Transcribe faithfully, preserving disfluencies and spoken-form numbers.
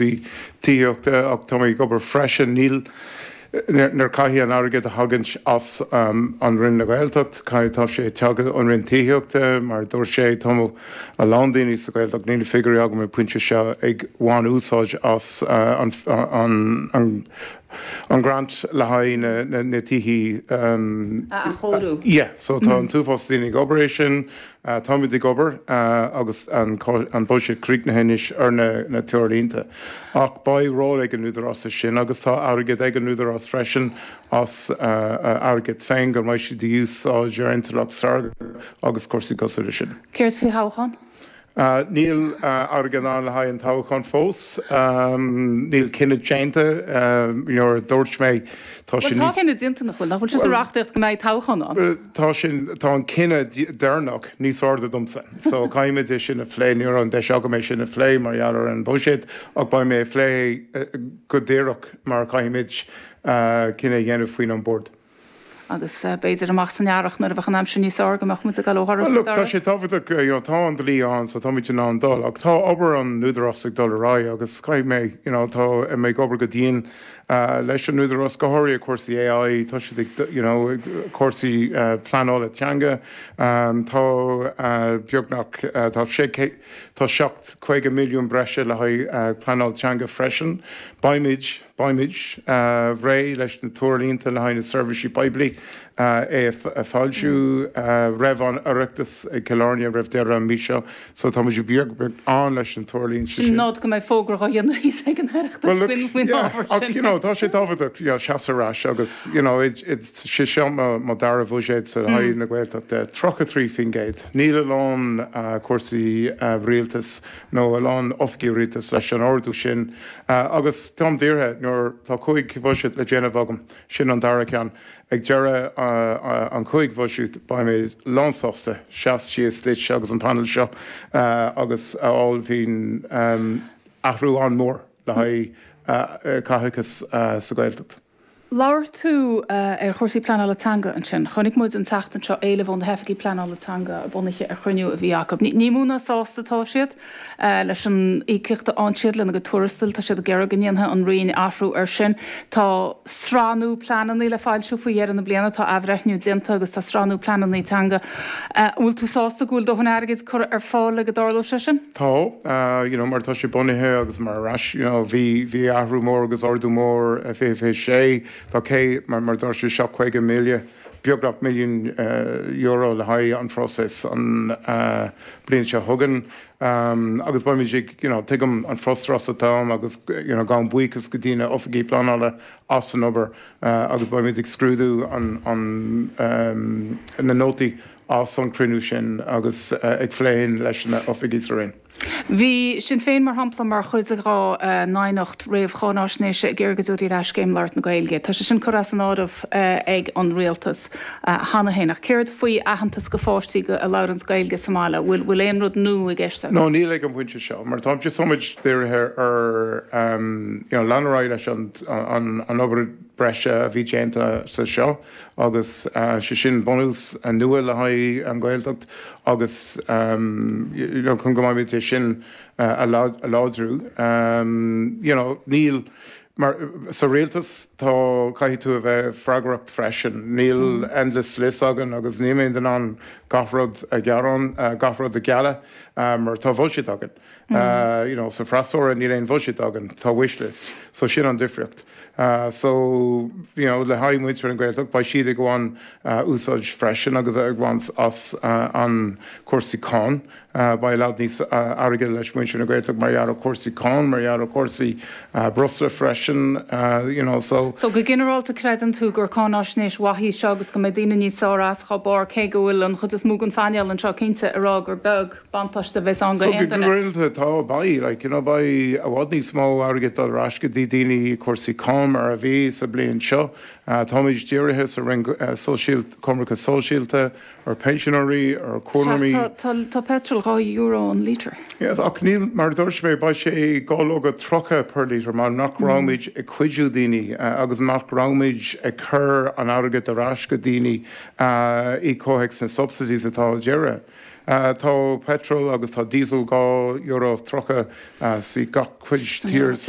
tithíochta ach tá ag obair freisin níl nuair caithfidh an airgead a thagann as um, an Roinn na Gaeltacht, caithfidh tá sé teacht ón Roinn Tithíochta mar dúirt sé tá a lán daoine sa Ghaeltacht níl figiúirí agam an pointe seo ag baint úsáid as uh, an, an, an an grant le haghaidh na, na, na tithe um, a chóiriú. Yeah, so tá an t-uafás daoine ag obair é sin uh, táimid ag obair uh, agus an, an buiséad críochnaithe anois ar na, na treoirlínte. Ach beidh ról ag an údarás sin agus tá airgead ag an údarás freisin as uh, airgead féin go mbeidh siad úsáid ar intleacht saorga agus cúrsaí cosúil sin. Céard faoi thoghchán? Uh, níl uh, airgead ann le haghaidh an toghchán fós, um, níl cinneadh déanta nuair dúirt mé tá sin Tá cinneadh déanta nach bhfuil, nach bhfuil sé sa reachtaíocht go mbeidh toghchán ann. Tá sin tá an cinneadh deireanach níos airde domsa. So caithfimid é sin a phlé ní an deis agam é sin a phlé mar gheall ar an buiséad ach beidh mé phlé go díreach mar caithfimid uh, cinneadh a dhéanamh faoin an bord. agus uh, b'fhéidir amach san earrach nuair a bheadh an aimsir níos fearr go mbeadh muid ag dul ó dhoras Look, tá sé tábhachtach you know, tá an dlí ann so táimid in ann dul ach tá obair an údarás ag dul ar aghaidh agus caithfidh mé you know, tá mé ag obair go dian uh, leis an údarás go háirithe cúrsaí AI tá siad ag you know, cúrsaí uh, pleanála teanga um, tá uh, beagnach uh, tá sé tá seacht caoga milliún breise le haghaidh uh, pleanáil teanga freisin. Beimid beimid uh, réidh leis na treoirlínte le haghaidh na seirbhísí poiblí uh, é a fhoilsiú uh, roimh an Oireachtas ag Cill Airne roimh deireadh an mí seo, so tá muid beag an leis an treoirlínte sin. Nod go mbeidh fógra á dhéanamh ag an Oireachtas faoin ábhar sin. You know, tá sé tábhachtach seasamh ar ais agus you know, it, it, sé seo mo dara bhuiséad sa haghaidh na Gaeltachta tríocha trí faoin gcéad. Níl a lán uh, cúrsaí uh, rialtas nó a lán oifigí rialtas leis an ardú sin uh, agus táim dírithe nuair tá cúig bhuiséad le déanamh agam sin an dara ceann. Ag deireadh uh, uh, an cúig bhuiséad beidh mé lánsásta seas síos duit agus an panel seo uh, agus a fháil um, athrú an-mhór le haghaidh uh, caitheachas uh, sa Ghaeltacht. Labhair tú uh, ar chúrsaí pleanála teanga ansin. Chonaic muid an tseachtain seo éileamh ó na hoifigigh pleanála teanga a bunaithe ar chruinniú a bhí acu. Ní mó ná sásta tá siad uh, leis an íocaíocht a fhaigheann siad lena gcuid tuarastail tá siad ag iarraidh go ndéanfaidh an Roinn athrú ar sin. Tá sraith nua pleananna le foilsiú faoi dheireadh na bliana tá athbhreithniú déanta agus tá sraith nua pleananna teanga. Uh, bhfuil tú sásta go bhfuil dóthain airgid curtha ar fáil le go dtarlódh sé sin? Tá uh, you know, mar tá sé bunaithe agus mar ais you know, bhí bhí athrú mór agus ardú mór fiche fiche sé tá cé mar mar dúirt sé seacht caoga míle beagnach milliún uh, euro le haghaidh an phróiseas an uh, bliain seo chugainn. Um, agus beimid you know, tuigim an frustrachas atá agus you know, gabhaim buíochas go dtí na oifigigh pleanála as an obair uh, agus beimid ag scrúdú an, an, um, na nótaí as an cruinniú sin agus uh, ag plé leis na oifigigh sa Roinn. Bhí Sinn Féin mar shampla mar chuid dá n-aighneacht réamh-cháinaisnéise ag iarraidh go dtabharfaí ar ais Scéim Labhairt na Gaeilge. Tá sé sin curtha as an áireamh ag an rialtas cheana féin ach céard faoi aitheantas do pháistí a labhraíonn Gaeilge sa mbaile, bhfuil bhfuil aon rud nua i gceist? No níl ag an bpointe seo, mar tá táimid dírithe ar um, you know, leanúint leis an, an, an obair breise a bhí déanta sa seo agus uh, sé sin bunús nua le haghaidh an Ghaeltacht agus um, you know, chun go mbeidh é sin uh, a láidriú. Um, you know, níl mar sa rialtas tá caithfidh tú a bheith freagrach freisin. Níl mm. endless list againn agus ní mé an gach rud a gearán uh, gach rud a ghealladh um, mar tá buiséad againn. Mm. Uh, you know, sa freasúra níl aon bhuiséad againn tá wishlist, so sin an difríocht. Uh, so you know, le haghaidh muintir an Ghaeltacht beidh siad ag baint uh, úsáid freisin agus ag baint as uh, an cúrsaí cáin. Uh, beidh leid níos uh, airgead leis muintir na Gaeltacht mar gheall ar cúrsaí cáin, mar gheall ar cúrsaí uh, breosla freisin, uh, you know, so. So go ginearálta creideann tú gur cáinaisnéis mhaith í seo agus go mbeidh daoine níos fearr as dá barr cé go bhfuil an chuid is mó den phainéal anseo cinnte ag rá gur beag buntáiste a bheas ann go So go ginearálta tá beidh, like, you know, beidh i bhfad níos mó airgead dul ar ais go dtí daoine cúrsaí cáin mar a bhí sa bliain seo. Uh, Táimid dírithe sa Roinn uh, coimirce sóisialta ar pensionairí ar cónairí. Tá petrol dhá euro an lítar. Yes, ach níl mar dúirt mé beidh sé dhá lóga tríocha per lítar mar nach raibh muid ag cuidiú daoine uh, agus nach raibh muid ag cur an airgead ar ais go daoine uh, i gcomhthéacs na subsidies atá deireadh. Uh, tá petrol agus tá diesel dhá euro tríocha uh, sa gach cuid tír san